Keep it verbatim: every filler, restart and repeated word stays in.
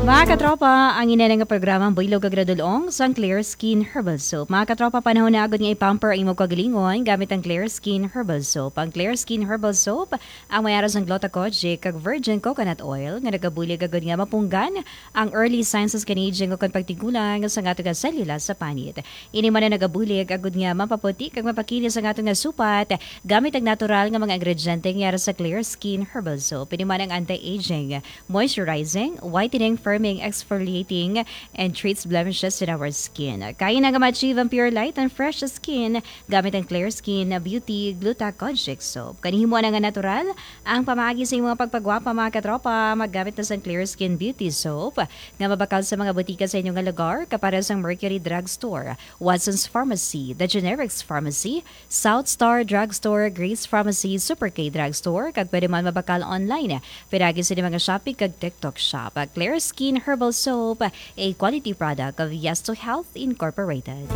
Mga katropa, ang ina nga programa ang Buylog kag Radulong sang Clear Skin Herbal Soap. Mga katropa, panahon na agod nga i-pamper ang imong kagalingon gamit ang Clear Skin Herbal Soap. Ang Clear Skin Herbal Soap ang may ara sang gluta kojic kag virgin coconut oil nga nagabulig agod nga mapunggan ang early signs of skin aging o kon pagtigulang sa ato nga selula sa panit. Ini man ang nagabulig agod nga mapaputi kag mapakinis ang ato nga supat gamit ang natural nga mga ingrediente nga ara sa Clear Skin Herbal Soap. Ini man ang anti-aging, moisturizing, whitening, firming, exfoliating, and treats blemishes in our skin. Kaya na nga ma-achieve ang pure light and fresh skin gamit ang Clear Skin Beauty Gluta Kojic Soap. Kani himo na nga natural ang pamaagi sa imong pagpagwapa, mga katropa. Maggamit na sang Clear Skin Beauty Soap nga mabakal sa mga butika sa inyong lugar, kapares sang Mercury Drugstore, Watson's Pharmacy, The Generics Pharmacy, South Star Drugstore, Grace Pharmacy, Super K Drugstore, kag pwede man mabakal online pinaagi sa mga Shopee kag TikTok Shop. Clear Skin Herbal Soap, a quality product of Yes to Health Incorporated.